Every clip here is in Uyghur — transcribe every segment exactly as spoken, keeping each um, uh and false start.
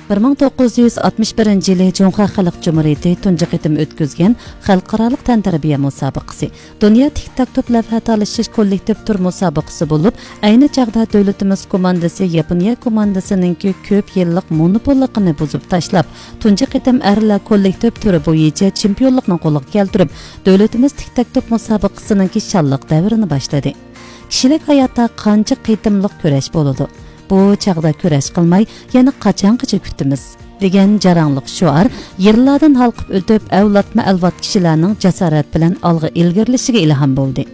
بىر مىڭ توققۇز يۈز ئاتمىش بىرىنچى يىلى جۇڭخۇا خەلق جۇمھۇرىيىتى تۇنجى قېتىم ئۆتكۈزگەن خەلقئارالىق تەنتەربىيە مۇسابىقىسى، دۇنيا تىك تاك توپ لەۋھە تالىشىش كوللېكتىپ تۈر مۇسابىقىسى بولۇپ، ئەينى چاغدا دۆلىتىمىز كوماندىسى ياپونىيە كوماندىسىنىڭكى كۆپ يىللىق مونوپوللۇقىنى بۇزۇپ تاشلاپ، تۇنجى قېتىم ئەرلەر كوللېكتىپ تۈرى بويىچە چېمپىيونلۇقنى قولغا كەلتۈرۈپ، دۆلىتىمىز تىك تاك توپ مۇسابىقىسىنىڭكى شانلىق دەۋرىنى باشلىدى. كىشىلىك ھاياتتا قانچە قېتىملىق كۈرەش بولىدۇ؟ بۇ چاغدا كۈرەش قىلماي، يەنە قاچانغىچە كۈتىمىز؟ دېگەن جاراڭلىق شوئار يىللاردىن ھالقىپ ئۆتۈپ، ئەۋلادمۇ ئەۋلاد كىشىلەرنىڭ جاسارەت بىلەن ئالغا ئىلگىرىلىشىگە ئىلھام بولدى.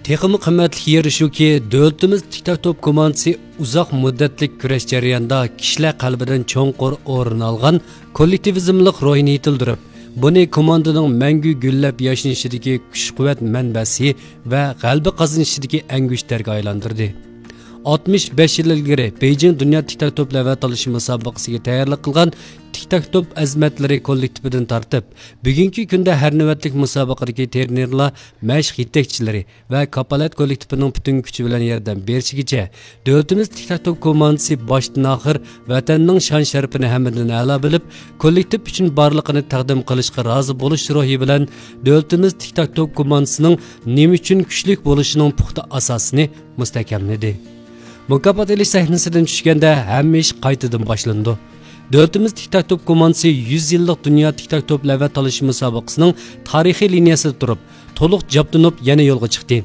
تېخىمۇ قىممەتلىك يېرى شۇكى، دۆلىتىمىز تىك تاك توپ كوماندىسى ئۇزاق مۇددەتلىك كۈرەش جەريانىدا كىشىلەر قەلبىدىن چوڭقۇر ئورۇن ئالغان كوللېكتىۋىزملىق روھنى يېتىلدۈرۈپ، بۇنى كوماندىنىڭ مەڭگۈ گۈللەپ ياشنىشىدىكى كۈچ-قۇۋۋەت مەنبەسى ۋە غەلىبە قازىنىشىدىكى ئەڭگۈشتەرگە ئايلاندۇردى. ئاتمىش بەش يىل ئىلگىرى بېيجىڭ دۇنيا تىك تاك توپ لەۋھە تالىشى مۇسابىقىسىگە تەييارلىق قىلغان تىك تاك توپ ئەزىمەتلىرى كوللېكتىپىدىن تارتىپ، بۈگۈنكى كۈندە ھەر نۆۋەتلىك مۇسابىقىدىكى تىرېنېرلار، مەشىق يېتەكچىلىرى ۋە كاپالەت كوللېكتىپىنىڭ پۈتۈن كۈچى بىلەن ياردەم بېرىشىگىچە، دۆلىتىمىز تىك تاك توپ كوماندىسى باشتىن ئاخىر ۋەتەننىڭ شان-شەرىپىنى ھەممىدىن ئەلا بىلىپ، كوللېكتىپ ئۈچۈن بارلىقىنى تەقدىم قىلىشقا رازى بولۇش روھى بىلەن، دۆلىتىمىز تىك تاك توپ كوماندىسىنىڭ نېمە ئۈچۈن كۈچلۈك بولۇشىنىڭ پۇختا ئاساسىنى مۇستەھكەملىدى. مۇكاپات ئېلىش سەھنىسىدىن چۈشكەندە، ھەممە ئىش قايتىدىن باشلىنىدۇ. دۆلىتىمىز تىك تاك توپ كوماندىسى يۈز يىللىق دۇنيا تىك تاك توپ لەۋھە تالىشى مۇسابىقىسىنىڭ تارىخىي لىنىيەسىدە تۇرۇپ، تولۇق جەپ تونۇپ يەنە يولغا چىقتى.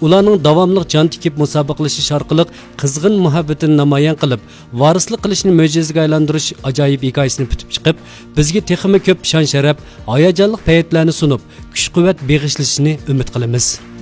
ئۇلارنىڭ داۋاملىق جان تىكىپ مۇسابىقىلىشىش ئارقىلىق قىزغىن مۇھەببىتىنى نامايان قىلىپ، ۋارىسلىق قىلىشنى مۆجىزىگە ئايلاندۇرۇش ئاجايىپ ھېكايىسىنى پۈتۈپ چىقىپ، بىزگە تېخىمۇ كۆپ شان-شەرەپ، ھاياجانلىق پەيتلەرنى سۇنۇپ، كۈچ-قۇۋۋەت بېغىشلىشىنى ئۈمىد قىلىمىز.